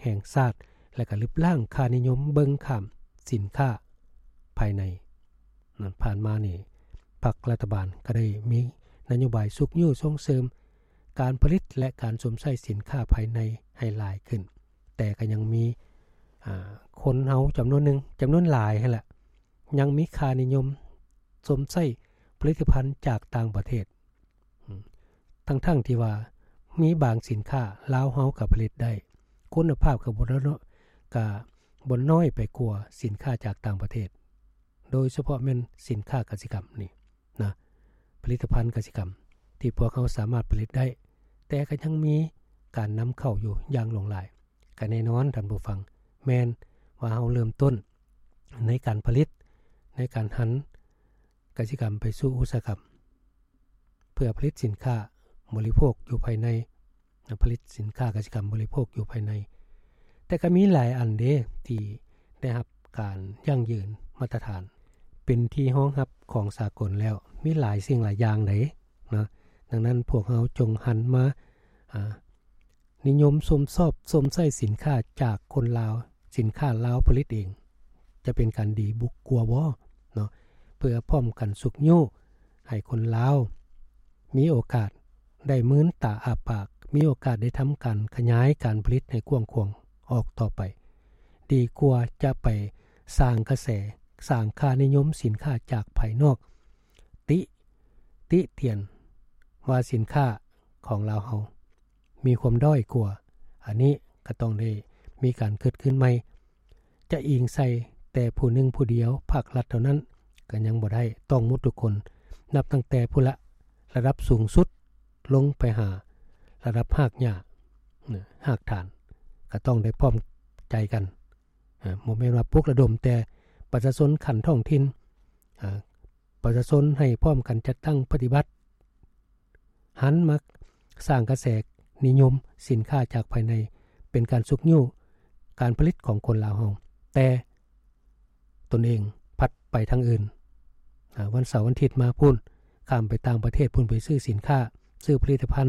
ແຫ່ງຊາດ ແລະ ກໍລຶບລ້າງຄ່ານິຍົມເບິ່ງຂ້າມສິນຄ້າພາຍໃນ. ນັ້ນ ຜ່ານມານີ້ ພັກລັດຖະບານກໍໄດ້ມີນະໂຍບາຍຊຸກຍູ້ສົ່ງເສີມການຜະລິດ ແລະ ການຊົມໃຊ້ສິນຄ້າພາຍໃນໃຫ້ຫຼາຍຂຶ້ນ, ແຕ່ກໍຍັງມີ ອາ ຄົນເຮົາຈຳນວນໜຶ່ງ, ຈຳນວນຫຼາຍຫັ້ນແຫຼະ ຍັງມີຄ່ານິຍົມຊົມໃຊ້ຜະລິດຕະພັນຈາກຕ່າງປະເທດ. ອືມ ທັງໆທີ່ວ່າມີບາງສິນຄ້າລາວເຮົາກໍຜະລິດໄດ້, ຄຸນນະພາບກໍບໍ່ ກໍບໍ່ນ້ອຍໄປກວ່າສິນຄ້າຈາກຕ່າງປະເທດ, ໂດຍສະເພາະແມ່ນສິນຄ້າກະສິກຳນີ້ນະ, ຜະລິດຕະພັນກະສິກຳທີ່ພວກເຮົາສາມາດຜະລິດໄດ້, ແຕ່ກໍຍັງມີການນຳເຂົ້າຢູ່ຢ່າງຫຼວງຫຼາຍ. ກໍແນ່ນອນທ່ານຜູ້ຟັງ, ແມ່ນວ່າເຮົາເລີ່ມຕົ້ນໃນການຜະລິດ, ໃນການຫັນກະສິກຳໄປສູ່ອຸດສາຫະກຳ ເພື່ອຜະລິດສິນຄ້າບໍລິໂພກຢູ່ພາຍໃນ, ນະ ຜະລິດສິນຄ້າກະສິກຳບໍລິໂພກຢູ່ພາຍໃນ. ແຕ່ກໍມີຫຼາຍອັນເດ້ທີ່ໄດ້ຮັບການຢັ້ງຢືນມາດຕະຖານ ເປັນທີ່ຮອງຮັບຂອງສາກົນແລ້ວ, ມີຫຼາຍສິ່ງຫຼາຍຢ່າງໃດ໋ນະ. ດັ່ງນັ້ນພວກເຮົາຈົ່ງຫັນມາ ອາ ນິຍົມຊົມຊອບຊົມໃຊ້ສິນຄ້າຈາກຄົນລາວ, ສິນຄ້າລາວຜະລິດເອງ ຈະເປັນການດີບຸກກວ່າບໍ່ເນາະ, ເພື່ອພ້ອມກັນຊຸກຍູ້ໃຫ້ຄົນລາວມີໂອກາດໄດ້ມືນຕາອ້າປາກ, ມີໂອກາດໄດ້ທຳການຂະຫຍາຍການຜະລິດໃຫ້ກວ້າງຂວາງອອກຕໍ່ໄປ, ດີກວ່າຈະໄປສ້າງກະແສ, ສ້າງຄ່ານິຍົມສິນຄ້າຈາກພາຍນອກ, ຕິ ຕິຕຽນວ່າສິນຄ້າຂອງລາວເຮົາ ມີຄວາມດ້ອຍກວ່າ, ອັນນີ້ກໍຕ້ອງໄດ້ມີການເກີດຂຶ້ນໃໝ່. ຈະອີງໃສ່ແຕ່ຜູ້ໜຶ່ງຜູ້ດຽວ, ພາກລັດເທົ່ານັ້ນກໍຍັງບໍ່ໄດ້, ຕ້ອງໝົດທຸກຄົນ, ນັບຕັ້ງແຕ່ພຸ້ນລະ ລະດັບສູງສຸດລົງໄປຫາລະດັບຮາກຫຍ້າ, ຮາກຖານ, ກໍຕ້ອງໄດ້ພ້ອມໃຈກັນ. ບໍ່ແມ່ນວ່າປຸກລະດົມແຕ່ປະຊາຊົນຂັ້ນທ້ອງຖິ່ນ, ປະຊາຊົນໃຫ້ພ້ອມກັນຈັດຕັ້ງປະຕິບັດ, ຫັນມາສ້າງກະແສນິຍົມສິນຄ້າຈາກພາຍໃນ ເປັນການຊຸກຍູ້ການຜະລິດຂອງຄົນລາວເຮົາ, ແຕ່ຕົນເອງພັດໄປທາງອື່ນ. ອາ ວັນເສົາວັນທິດມາພຸ້ນ, ຂ້າມໄປຕ່າງປະເທດພຸ້ນ, ໄປຊື້ສິນຄ້າ, ຊື້ຜະລິດຕະພັນ,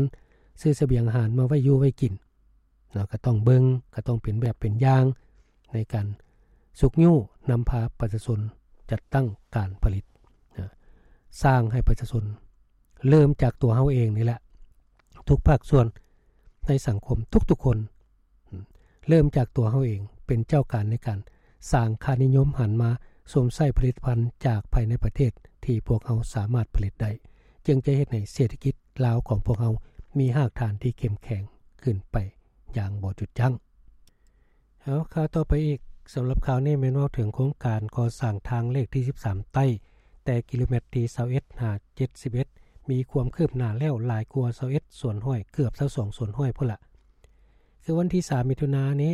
ຊື້ສະບຽງອາຫານມາໄວ້ຢູ່ໄວ້ກິນ. ເນາະ, ກໍຕ້ອງເບິ່ງ, ກໍຕ້ອງເປັນແບບເປັນຢ່າງໃນການຊຸກຍູ້ນຳພາປະຊາຊົນຈັດຕັ້ງການຜະລິດ, ນະ, ສ້າງໃຫ້ປະຊາຊົນເລີ່ມຈາກຕົວເຮົາເອງນີ້ແຫຼະ, ທຸກພາກສ່ວນໃນສັງຄົມ, ທຸກໆຄົນ, ເລີ່ມຈາກຕົວເຮົາເອງ, ເປັນເຈົ້າການໃນການສ້າງຄ່ານິຍົມ, ຫັນມາຊົມໃຊ້ຜະລິດຕະພັນຈາກພາຍໃນປະເທດທີ່ພວກເຮົາສາມາດຜະລິດໄດ້, ຈຶ່ງຈະເຮັດໃຫ້ເສດຖະກິດລາວຂອງພວກເຮົາມີຮາກຖານທີ່ເຂັ້ມແຂງຂຶ້ນໄປ ຢ່າງບໍ່ຢຸດຢັ້ງ. ເອົາ ຂ່າວຕໍ່ໄປອີກ, ສຳລັບຂ່າວນີ້ແມ່ນເວົ້າເຖິງໂຄງການກໍ່ສ້າງທາງເລກທີສິບສາມໃຕ້ ແຕ່ກິໂລແມັດທີຊາວເອັດຫາເຈັດສິບເອັດ ມີຄວາມຄືບໜ້າແລ້ວຫຼາຍກວ່າຊາວເອັດສ່ວນຮ້ອຍ ເກືອບຊາວສອງສ່ວນຮ້ອຍພຸ້ນລະ. ຄືວັນທີສາມມິຖຸນານີ້,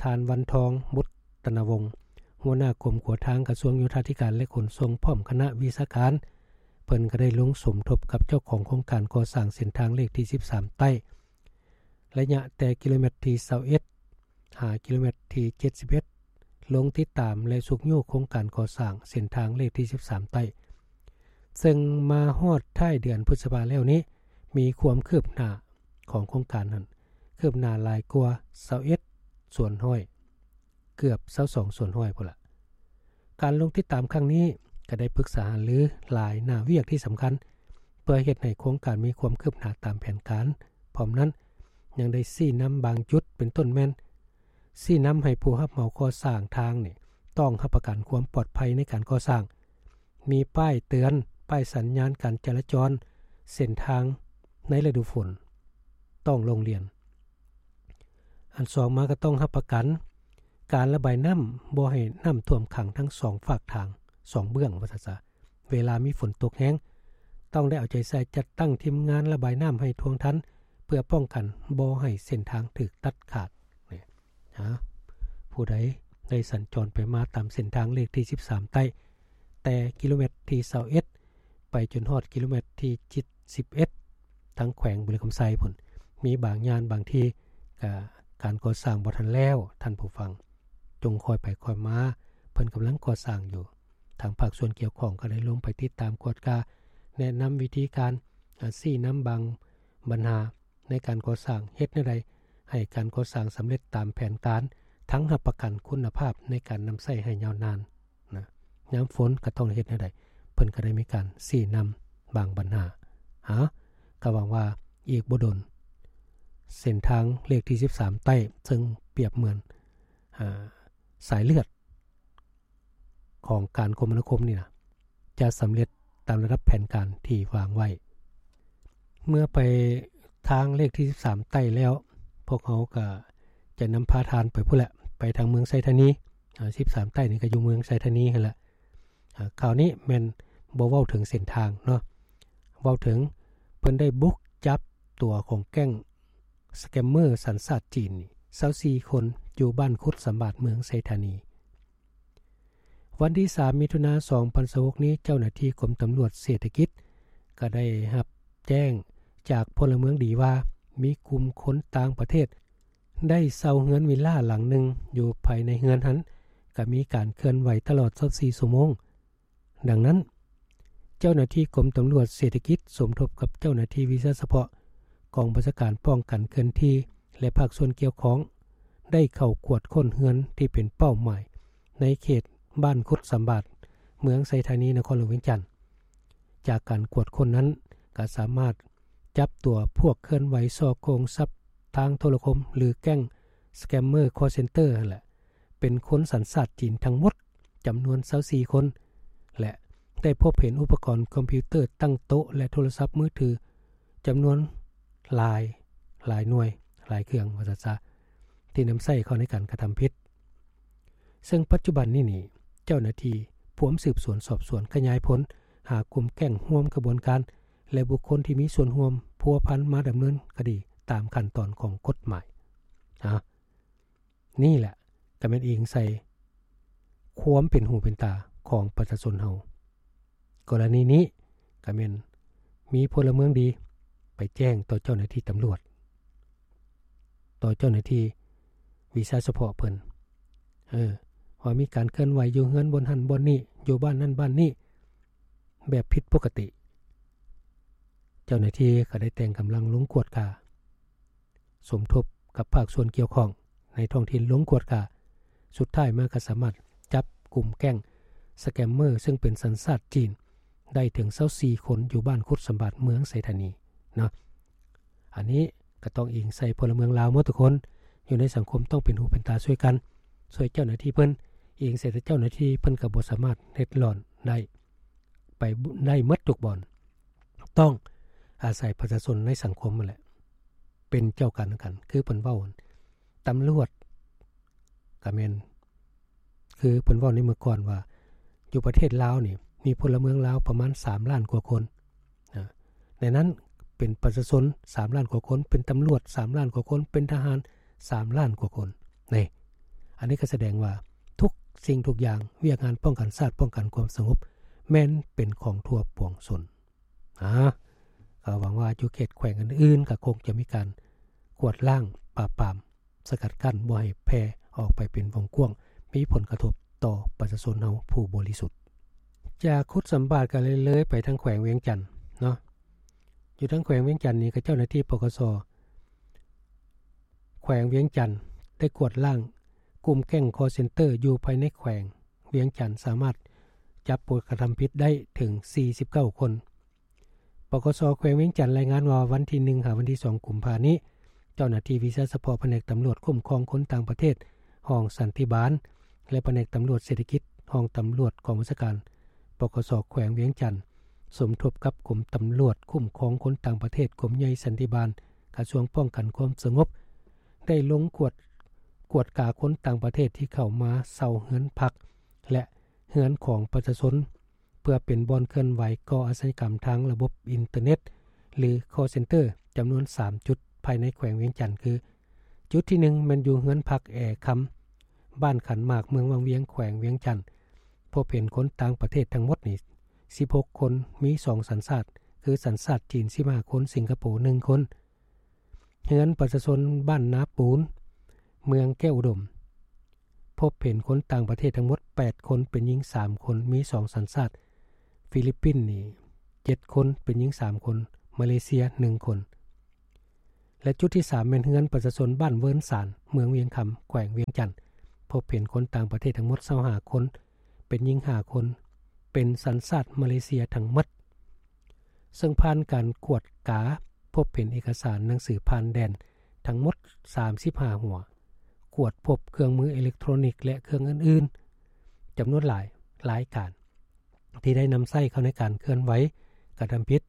ທ່ານ ວັນທອງ ບຸດຕະນະວົງ ຫົວໜ້າກົມຂົວທາງ ກະຊວງໂຍທາທິການ ແລະ ຂົນສົ່ງ ພ້ອມຄະນະວິຊາການ, ເພິ່ນກໍໄດ້ລົງສົມທົບກັບເຈົ້າຂອງໂຄງການກໍ່ສ້າງເສັ້ນທາງເລກທີສິບສາມໃຕ້ ໄລຍະແຕ່ກິໂລແມັດທີຊາວເອັດຫາກິໂລແມັດທີເຈັດສິບເອັດ ລົງຕິດຕາມ ແລະ ຊຸກຍູ້ໂຄງການກໍ່ສ້າງເສັ້ນທາງເລກທີສິບສາມໃຕ້, ເຊິ່ງມາຮອດທ້າຍເດືອນພຶດສະພາແລ້ວນີ້, ມີຄວາມຄືບໜ້າຂອງໂຄງການນັ້ນ ຄືບໜ້າຫຼາຍກວ່າຊາວເອັດສ່ວນຮ້ອຍ ເກືອບຊາວສອງສ່ວນຮ້ອຍພຸ້ນລະ. ການລົງຕິດຕາມຄັ້ງນີ້ກໍໄດ້ປຶກສາຫາລືຫຼາຍໜ້າວຽກທີ່ສຳຄັນ ເພື່ອເຮັດໃຫ້ໂຄງການມີຄວາມຄືບໜ້າຕາມແຜນການ. ພ້ອມນັ້ນ, ຍັງໄດ້ຊີ້ນຳບາງຈຸດ, ເປັນຕົ້ນແມ່ນຊີ້ນຳໃຫ້ຜູ້ຮັບເໝົາກໍ່ສ້າງທາງນີ້ ຕ້ອງຮັບປະກັນຄວາມປອດໄພໃນການກໍ່ສ້າງ, ມີປ້າຍເຕືອນ, ປ້າຍສັນຍານການຈະລາຈອນເສັ້ນທາງໃນລະດູຝົນ ຕ້ອງລົງລຽນ. ອັນສອງມາກໍຕ້ອງຮັບປະກັນການລະບາຍນ້ຳ ບໍ່ໃຫ້ນ້ຳຖ້ວມຂັງທັງສອງຟາກທາງ, ສອງເບື້ອງວ່າຊັ້ນຊະ. ເວລາມີຝົນຕົກແຮງ, ຕ້ອງໄດ້ເອົາໃຈໃສ່ຈັດຕັ້ງທີມງານລະບາຍນ້ຳໃຫ້ທ່ວງທັນ ເພື່ອປ້ອງກັນບໍ່ໃຫ້ເສັ້ນທາງຖືກຕັດຂາດ. ນີ້ ຫາ ຜູ້ໃດໄດ້ສັນຈອນໄປມາຕາມເສັ້ນທາງເລກທີສິບສາມໃຕ້ ແຕ່ກິໂລແມັດທີຊາວເອັດ ໄປຈົນຮອດກິໂລແມັດທີສິບເອັດ ທາງແຂວງບໍລິຄຳໄຊພຸ້ນ, ມີບາງຢ່າງບາງທີ່ກະການກໍ່ສ້າງບໍ່ທັນແລ້ວ, ທ່ານຜູ້ຟັງ, ຈົ່ງຄ່ອຍໄປຄ່ອຍມາ, ເພິ່ນກຳລັງກໍ່ສ້າງຢູ່. ທາງພາກສ່ວນກ່ຽວຂ້ອງກໍໄດ້ລົງໄປຕິດຕາມກວດກາ, ແນະນຳວິທີການ, ອາ, ຊີ້ນຳບາງບັນຫາໃນການກໍ່ສ້າງ, ເຮັດແນວໃດ ໃຫ້ການກໍ່ສ້າງສຳເລັດຕາມແຜນການ, ທັງຮັບປະກັນຄຸນນະພາບໃນການນຳໃຊ້ໃຫ້ຍາວນານນະ. ຍາມຝົນກໍຕ້ອງເຮັດແນວໃດ, ເພິ່ນກໍໄດ້ມີການຊີ້ນຳບາງບັນຫາ. ຫາ ກໍຫວັງວ່າອີກບໍ່ດົນ ເສັ້ນທາງເລກທີສິບສາມໃຕ້ ເຊິ່ງປຽບເໝືອນ ອາ ສາຍເລືອດ ຂອງການຄົມມະນາຄົມນີ້ນະ ຈະສຳເລັດຕາມລະດັບແຜນການທີ່ວາງໄວ້. ເມື່ອໄປທາງເລກທີສິບສາມໃຕ້ແລ້ວ, ພວກເຮົາກໍຈະນຳພາທ່ານໄປພຸ້ນແຫຼະ, ໄປທາງເມືອງໄຊທານີ. ອາ ສິບສາມໃຕ້ນີ້ກໍຢູ່ເມືອງໄຊທານີຫັ້ນແຫຼະ. ອາ ຄາວນີ້ແມ່ນບໍ່ເວົ້າເຖິງເສັ້ນທາງເນາະ, ເວົ້າເຖິງເພິ່ນໄດ້ບຸກຈັບຕົວຂອງແກ້ງສະແກມເມີສັນຊາດຈີນນີ້ ຊາວສີ່ຄົນ ຢູ່ບ້ານຄຸດສຳບາດ ເມືອງໄຊທານີ. ວັນທີສາມ ມິຖຸນາ ສອງພັນຊາວຫົກນີ້, ເຈົ້າໜ້າທີ່ກົມຕຳຫຼວດເສດຖະກິດກໍໄດ້ຮັບແຈ້ງຈາກພົນລະເມືອງດີວ່າ ມີກຸ່ມຄົນຕ່າງປະເທດໄດ້ເຊົ່າເຮືອນວິລລາຫຼັງໜຶ່ງ, ຢູ່ພາຍໃນເຮືອນຫັ້ນກໍມີການເຄື່ອນໄຫວຕະຫຼອດຊາວສີ່ຊົ່ວໂມງ. ດັ່ງນັ້ນ, ເຈົ້າໜ້າທີ່ກົມຕຳຫຼວດເສດຖະກິດ ສົມທົບກັບເຈົ້າໜ້າທີ່ວິຊາສະເພາະ ກອງບັນຊາການປ້ອງກັນເຄື່ອນທີ່ ແລະ ພາກສ່ວນກ່ຽວຂ້ອງ ໄດ້ເຂົ້າກວດຄົ້ນເຮືອນທີ່ເປັນເປົ້າໝາຍໃນເຂດບ້ານຄຸດສຳບາດ ເມືອງໄຊທານີ ນະຄອນຫຼວງວຽງຈັນ. ຈາກການກວດຄົ້ນນັ້ນ ກໍສາມາດຈັບຕົວພວກເຄື່ອນໄຫວສໍ້ໂກງຊັບທາງໂທລະຄົມ ຫຼື ແກ້ງສະແກມເມີຄໍເຊັນເຕີຫັ້ນແຫຼະ ເປັນຄົນສັນຊາດຈີນທັງໝົດ ຈຳນວນຊາວສີ່ຄົນ ແລະ ໄດ້ພົບເຫັນອຸປະກອນຄອມພິວເຕີຕັ້ງໂຕະ ແລະ ໂທລະສັບມືຖືຈຳນວນຫຼາຍ, ຫຼາຍໜ່ວຍ, ຫຼາຍເຄື່ອງ ວ່າຊັ້ນຊະ, ທີ່ນຳໃຊ້ເຂົ້າໃນການກະທຳຜິດ. ເຊິ່ງປັດຈຸບັນນີ້ນີ້ ເຈົ້າໜ້າທີ່ພວມສືບສວນສອບສວນຂະຫຍາຍຜົນຫາກຸ່ມແກ້ງຮ່ວມຂະບວນການ ແລະ ບຸກຄົນທີ່ມີສ່ວນຮ່ວມພົວພັນມາດຳເນີນຄະດີຕາມຂັ້ນຕອນຂອງກົດໝາຍ. ອາ ນີ້ແຫຼະກໍແມ່ນອີງໃສ່ຄວາມເປັນຫູເປັນຕາຂອງປະຊາຊົນເຮົາ. ກໍລະນີນີ້ກໍແມ່ນມີພົນລະເມືອງດີໄປແຈ້ງຕໍ່ເຈົ້າໜ້າທີ່ຕຳຫຼວດ, ຕໍ່ເຈົ້າໜ້າທີ່ວິຊາສະເພາະເພິ່ນ, ເອີ, ວ່າມີການເຄື່ອນໄຫວຢູ່ເຮືອນບ່ອນຫັ້ນບ່ອນນີ້, ຢູ່ບ້ານນັ້ນບ້ານນີ້ ແບບຜິດປົກກະຕິ. ເຈົ້າໜ້າທີ່ກໍໄດ້ແຕ່ງກຳລັງລົງກວດກາ ສົມທົບກັບພາກສ່ວນກ່ຽວຂ້ອງໃນທ້ອງຖິ່ນລົງກວດກາ. ສຸດທ້າຍມາກໍສາມາດຈັບກຸ່ມແກ້ງສະແກມເມີ ເຊິ່ງເປັນສັນຊາດຈີນ ໄດ້ເຖິງຊາວສີ່ຄົນ ຢູ່ບ້ານຄຸດສຳບາດ ເມືອງໄຊທານີເນາະ. ອັນນີ້ກໍຕ້ອງອີງໃສ່ພົນລະເມືອງລາວໝົດທຸກຄົນ ຢູ່ໃນສັງຄົມຕ້ອງເປັນຫູເປັນຕາຊ່ວຍກັນ, ຊ່ວຍເຈົ້າໜ້າທີ່ເພິ່ນ, ອີງໃສ່ແຕ່ເຈົ້າໜ້າທີ່ເພິ່ນກໍບໍ່ສາມາດເລັດລອນໄດ້ ໄປໄດ້ໝົດທຸກບ່ອນ. ຕ້ອງອາໄສປະຊາຊົນໃນສັງຄົມຫັ້ນແຫຼະ ເປັນເຈົ້າການນຳກັນ. ຄືເພິ່ນເວົ້າ ຕຳຫຼວດກະແມ່ນ ຄືເພິ່ນເວົ້າໃນເມື່ອກ່ອນວ່າ ຢູ່ປະເທດລາວນີ້ ມີພົນລະເມືອງລາວປະມານສາມລ້ານກວ່າຄົນ. ອາ ໃນນັ້ນເປັນປະຊາຊົນສາມລ້ານກວ່າຄົນ, ເປັນຕຳຫຼວດສາມລ້ານກວ່າຄົນ, ເປັນທະຫານສາມລ້ານກວ່າຄົນ. ນີ້ ອັນນີ້ກໍສະແດງວ່າທຸກສິ່ງທຸກຢ່າງ, ວຽກງານປ້ອງກັນຊາດ, ປ້ອງກັນຄວາມສະຫງົບ ແມ່ນເປັນຂອງທົ່ວປວງຊົນ. ອາ ກໍຫວັງວ່າຢູ່ເຂດແຂວງອື່ນໆ ກໍຄົງຈະມີການກວາດລ້າງ, ປາບປາມ, ສະກັດກັ້ນບໍ່ໃຫ້ແຜ່ອອກໄປເປັນວົງກວ້າງ, ມີຜົນກະທົບຕໍ່ປະຊາຊົນເຮົາຜູ້ບໍລິສຸດ. ຈາກຄຸດສຳບາດກໍເລີຍເລີຍໄປທາງແຂວງວຽງຈັນເນາະ. ຢູ່ທາງແຂວງວຽງຈັນນີ້ ກໍເຈົ້າໜ້າທີ່ ປກສ ແຂວງວຽງຈັນ ໄດ້ກວາດລ້າງກຸ່ມແກ້ງຄໍເຊັນເຕີຢູ່ພາຍໃນແຂວງວຽງຈັນ ສາມາດຈັບຜູ້ກະທຳຜິດໄດ້ເຖິງສີ່ສິບເກົ້າຄົນ. ປກສ ແຂວງວຽງຈັນລາຍງານວ່າ ວັນທີໜຶ່ງ ຫາ ວັນທີສອງ ກຸມພານີ້ ເຈົ້າໜ້າທີ່ວິຊາສະເພາະພະແນກຕຳຫຼວດຄຸ້ມຄອງຄົນຕ່າງປະເທດ ຫ້ອງສັນຕິບານ ແລະ ພະແນກຕຳຫຼວດເສດຖະກິດ ຫ້ອງຕຳຫຼວດກອງບັນຊາການ ປກສ ແຂວງວຽງຈັນ ສົມທົບກັບກົມຕຳຫຼວດຄຸ້ມຄອງຄົນຕ່າງປະເທດ ກົມໃຫຍ່ສັນຕິບານ ກະຊວງປ້ອງກັນຄວາມສະຫງົບ ໄດ້ລົງກວດ, ກວດກາຄົນຕ່າງປະເທດທີ່ເຂົ້າມາເຊົ່າເຮືອນພັກ ແລະ ເຮືອນຂອງປະຊາຊົນ ເພື່ອເປັນບ່ອນເຄື່ອນໄຫວກໍ່ອາຊະຍາກຳທາງລະບົບອິນເຕີເນັດ ຫຼື ຄໍເຊັນເຕີ ຈຳນວນສາມຈຸດ ພາຍໃນແຂວງວຽງຈັນ ຄື ຈຸດທີໜຶ່ງ ແມ່ນຢູ່ເຮືອນພັກແອຄຳ ບ້ານຂັນໝາກ ເມືອງວັງວຽງ ແຂວງວຽງຈັນ ພົບເຫັນຄົນຕ່າງປະເທດທັງໝົດນີ້ສິບຫົກຄົນ, ມີສອງສັນຊາດ ຄືສັນຊາດຈີນສິບຫ້າຄົນ, ສິງກະໂປໜຶ່ງຄົນ. ເຮືອນປະຊາຊົນບ້ານນາປູນ ເມືອງແກ້ວອຸດົມ ພົບເຫັນຄົນຕ່າງປະເທດທັງໝົດແປດຄົນ, ເປັນຍິງສາມຄົນ, ມີສອງສັນຊາດ, ຟີລິບປິນນີ້ເຈັດຄົນ, ເປັນຍິງສາມຄົນ, ມາເລເຊຍໜຶ່ງຄົນ. ແລະ ຈຸດທີສາມແມ່ນເຮືອນປະຊາຊົນບ້ານເວີນສານ ເມືອງວຽງຄຳ ແຂວງວຽງຈັນ, ພົບເຫັນຄົນຕ່າງປະເທດທັງໝົດຊາວຫ້າຄົນ, ເປັນຍິງຫ້າຄົນ, ເປັນສັນຊາດມາເລເຊຍທັງໝົດ. ເຊິ່ງຜ່ານການກວດກາ ພົບເຫັນເອກະສານໜັງສືຜ່ານແດນທັງໝົດສາມສິບຫ້າຫົວ, ກວດພົບເຄື່ອງມືເອເລັກໂທຣນິກ ແລະ ເຄື່ອງອື່ນໆ ຈຳນວນຫຼາຍລາຍການ ທີ່ໄດ້ນຳໃຊ້ເຂົ້າໃນການເຄື່ອນໄຫວກະທຳຜິດ.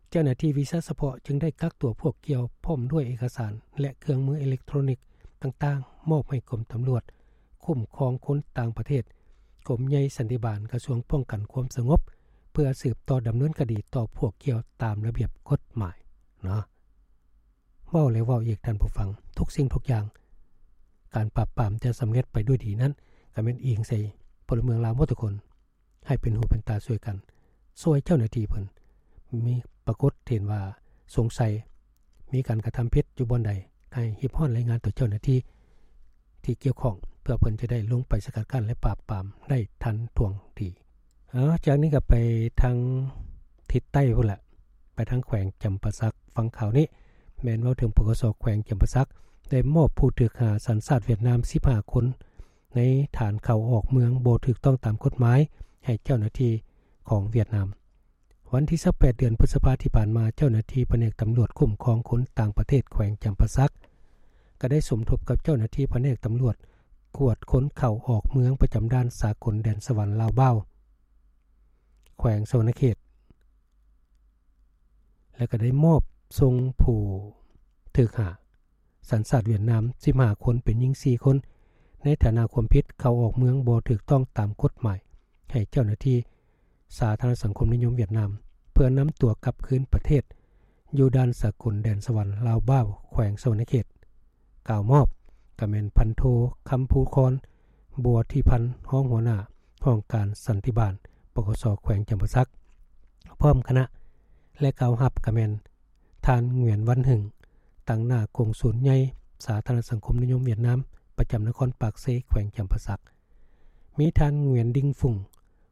ເຈົ້າໜ້າທີ່ວິຊາສະເພາະຈຶ່ງໄດ້ກັກຕົວພວກກ່ຽວ ພ້ອມດ້ວຍເອກະສານ ແລະ ເຄື່ອງມືເອເລັກໂທຣນິກຕ່າງໆ ມອບໃຫ້ກົມຕຳຫຼວດຄຸ້ມຄອງຄົນຕ່າງປະເທດ, ກົມໃຫຍ່ສັນຕິບານ, ກະຊວງປ້ອງກັນຄວາມສະຫງົບ ເພື່ອສືບຕໍ່ດຳເນີນຄະດີຕໍ່ພວກກ່ຽວຕາມລະບຽບກົດໝາຍເນາະ. ເວົ້າແລ້ວເວົ້າອີກທ່ານຜູ້ຟັງ, ທຸກສິ່ງທຸກຢ່າງ ການປາບປາມຈະສຳເລັດໄປດ້ວຍດີນັ້ນ ກໍແມ່ນອີງໃສ່ພົນລະເມືອງລາວໝົດທຸກຄົນ ໃຫ້ເປັນຫູເປັນຕາຊ່ວຍກັນ, ຊ່ວຍເຈົ້າໜ້າທີ່ເພິ່ນ ມີປາກົດເຫັນວ່າສົງໄສ ມີການກະທຳຜິດຢູ່ບ່ອນໃດ ໃຫ້ຮີບຮ້ອນລາຍງານຕໍ່ເຈົ້າໜ້າທີ່ທີ່ກ່ຽວຂ້ອງ ເພື່ອເພິ່ນຈະໄດ້ລົງໄປສະກັດກັ້ນ ແລະ ປາບປາມໄດ້ທັນທ່ວງທີ. ເອົາ ຈາກນີ້ກໍໄປທາງທິດໃຕ້ພຸ້ນລະ, ໄປທາງແຂວງຈຳປາສັກ. ຟັງຂ່າວນີ້ ແມ່ນເວົ້າເຖິງ ປກສ ແຂວງຈຳປາສັກ ໄດ້ມອບຜູ້ຖືກຫາສັນຊາດຫວຽດນາມສິບຫ້າຄົນ ໃນຖານເຂົ້າອອກເມືອງບໍ່ຖືກຕ້ອງຕາມກົດໝາຍ ໃຫ້ເຈົ້າໜ້າທີ່ຂອງຫວຽດນາມ. ວັນທີຊາວແປດ ເດືອນພຶດສະພາທີ່ຜ່ານມາ, ເຈົ້າໜ້າທີ່ພະແນກຕຳຫຼວດຄຸ້ມຄອງຄົນຕ່າງປະເທດແຂວງຈຳປາສັກ ກໍໄດ້ສົມທົບກັບເຈົ້າໜ້າທີ່ພະແນກຕຳຫຼວດກວດຄົນເຂົ້າອອກເມືອງປະຈຳດ່ານສາກົນແດນສະຫວັນລາວບາວ ແຂວງສະຫວັນນະເຂດ ແລະ ກໍໄດ້ມອບສົ່ງຜູ້ຖືກຫາ ສັນຊາດຫວຽດນາມສິບຫ້າຄົນ ເປັນຍິງສີ່ຄົນ ໃນຖານະຄວາມຜິດເຂົ້າອອກເມືອງບໍ່ຖືກຕ້ອງຕາມກົດໝາຍ ໃຫ້ເຈົ້າໜ້າທີ່ສາທາລະນະສັງຄົມນິຍົມຫວຽດນາມ ເພື່ອນຳຕົວກັບຄືນປະເທດ ຢູ່ດ່ານສາກົນແດນສະຫວັນລາວບາວ ແຂວງສະຫວັນນະເຂດ. ກ່າວມອບກໍແມ່ນພັນໂທ ຄຳພູຄອນ ບົວທິພັນ ຮອງຫົວໜ້າຫ້ອງການສັນຕິບານ ປກສ ແຂວງຈຳປາສັກ ພ້ອມຄະນະ ແລະ ກ່າວຮັບກໍແມ່ນ ທ່ານ ຫງວຽນ ວັນ ຫຶງ ຕາງໜ້າກົງສູນໃຫຍ່ສາທາລະນະສັງຄົມນິຍົມຫວຽດນາມ ປະຈຳນະຄອນປາກເຊ ແຂວງຈຳປາສັກ, ມີທ່ານ ຫງວຽນ ດິງ ຟຸງ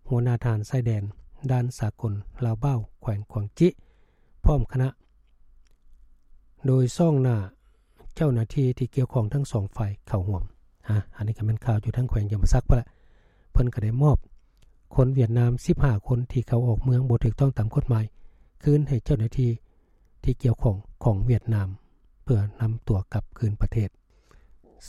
ຫົວໜ້າທະຫານຊາຍແດນດ່ານສາກົນລາວບາວ ແຂວງກວາງຈິ ພ້ອມຄະນະ ໂດຍຊ້ອງໜ້າເຈົ້າໜ້າທີ່ທີ່ກ່ຽວຂ້ອງທັງສອງຝ່າຍເຂົ້າຮ່ວມ. ອາ ອັນນີ້ກໍແມ່ນຂ່າວຢູ່ທາງແຂວງຈຳປາສັກພຸ້ນລະ. ເພິ່ນກໍໄດ້ມອບຄົນຫວຽດນາມສິບຫ້າຄົນທີ່ເຂົ້າອອກເມືອງບໍ່ຖືກຕ້ອງຕາມກົດໝາຍ ຄືນໃຫ້ເຈົ້າໜ້າທີ່ທີ່ກ່ຽວຂ້ອງຂອງຫວຽດນາມ ເພື່ອນຳຕົວກັບຄືນປະເທດ.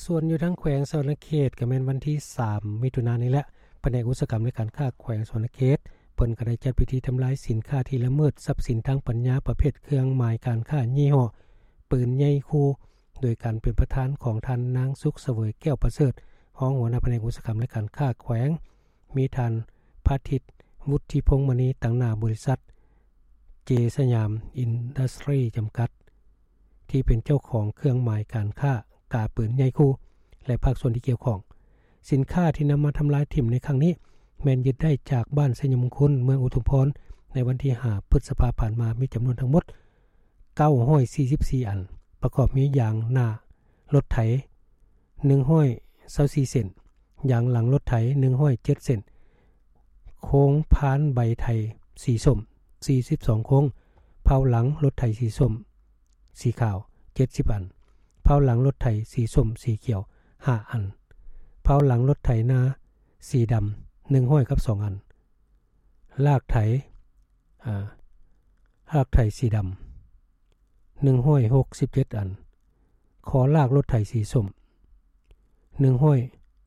ສ່ວນຢູ່ທາງແຂວງສະຫວັນນະເຂດ ກໍແມ່ນວັນທີສາມ ມິຖຸນານີ້ແຫຼະ, ພະແນກອຸດສາຫະກຳ ແລະ ການຄ້າແຂວງສະຫວັນນະເຂດ ເພິ່ນກໍໄດ້ຈັດພິທີທຳລາຍສິນຄ້າທີ່ລະເມີດຊັບສິນທາງປັນຍາ ປະເພດເຄື່ອງໝາຍການຄ້າຍີ່ຫໍ້ປືນໃຫຍ່ຄູ່ ໂດຍການເປັນປະທານຂອງທ່ານນາງ ສຸກສະເຫວີຍ ແກ້ວປະເສີດ ຮອງຫົວໜ້າພະແນກອຸດສາຫະກຳ ແລະ ການຄ້າແຂວງ, ມີທ່ານ ພາທິດ ວຸດທິພົງມະນີ ຕາງໜ້າບໍລິສັດ ເຈສະຫຍາມ ອິນດັສຕຣີ ຈຳກັດ ທີ່ເປັນເຈົ້າຂອງເຄື່ອງໝາຍການຄ້າກາປືນໃຫຍ່ຄູ່ ແລະ ພາກສ່ວນທີ່ກ່ຽວຂ້ອງ. ສິນຄ້າທີ່ນຳມາທຳລາຍຖິ້ມໃນຄັ້ງນີ້ ແມ່ນຍຶດໄດ້ຈາກບ້ານໄຊຍະມຸງຄຸນ ເມືອງອຸທຸມພອນ ໃນວັນທີຫ້າ ພຶດສະພາຜ່ານມາ ມີຈຳນວນທັງໝົດ ເກົ້າຮ້ອຍສີ່ສິບສີ່ອັນ, ປະກອບມີຢາງໜ້າລົດໄຖ ໜຶ່ງຮ້ອຍຊາວສີ່ເສັ້ນ, ຢາງຫຼັງລົດໄຖ ໜຶ່ງຮ້ອຍເຈັດເສັ້ນ, ໂຄງພານໃບໄຖສີສົ້ມ ສີ່ສິບສອງໂຄງ, ເພົາຫຼັງລົດໄຖສີສົ້ມ ສີຂາວ ເຈັດສິບອັນ, ເພົາຫຼັງລົດໄຖສີສົ້ມ ສີຂຽວ ຫ້າອັນ, ເພົາຫຼັງລົດໄຖນາສີດຳ ໜຶ່ງຮ້ອຍກັບສອງອັນ, ລາກໄຖ ອາ ລາກໄຖສີດຳ ໜຶ່ງຮ້ອຍຫົກສິບເຈັດອັນ, ຄໍລາກລົດໄຖສີສົ້ມ ໜຶ່ງຮ້ອຍ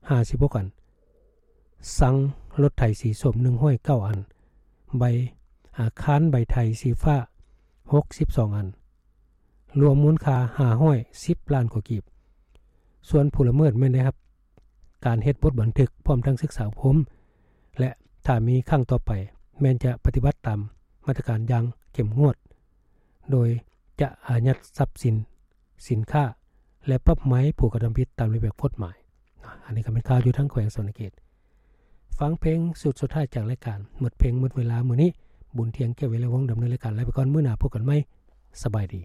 ຫ້າສິບຫົກອັນ, ຊັງລົດໄຖສີສົ້ມ ໜຶ່ງຮ້ອຍເກົ້າອັນ, ໃບ ອາ ຄານໃບໄຖສີຟ້າ ຫົກສິບສອງອັນ, ລວມມູນຄ່າ ຫ້າຮ້ອຍສິບລ້ານກວ່າກີບ. ສ່ວນຜູ້ລະເມີດແມ່ນໄດ້ຮັບການເຮັດບົດບັນທຶກ ພ້ອມທັງສຶກສາອົບຮົມ ແລະ ຖ້າມີຄັ້ງຕໍ່ໄປ ແມ່ນຈະປະຕິບັດຕາມມາດຕະການຢ່າງເຂັ້ມງວດ ໂດຍຈະອາຍັດຊັບສິນ, ສິນຄ້າ ແລະ ປັບໃໝຜູ້ກະທຳຜິດຕາມລະບຽບກົດໝາຍ. ອັນນີ້ກໍແມ່ນຂ່າວຢູ່ທາງແຂວງສະຫວັນນະເຂດ. ຟັງເພງຊຸດສຸດທ້າຍຈາກລາຍການໝົດເພງໝົດເວລາມື້ນີ້. ບຸນທຽງ ແກ້ວວິໄລວົງ ດຳເນີນລາຍການ. ລາໄປກ່ອນ, ມື້ໜ້າພົບກັນໃໝ່. ສະບາຍດີ.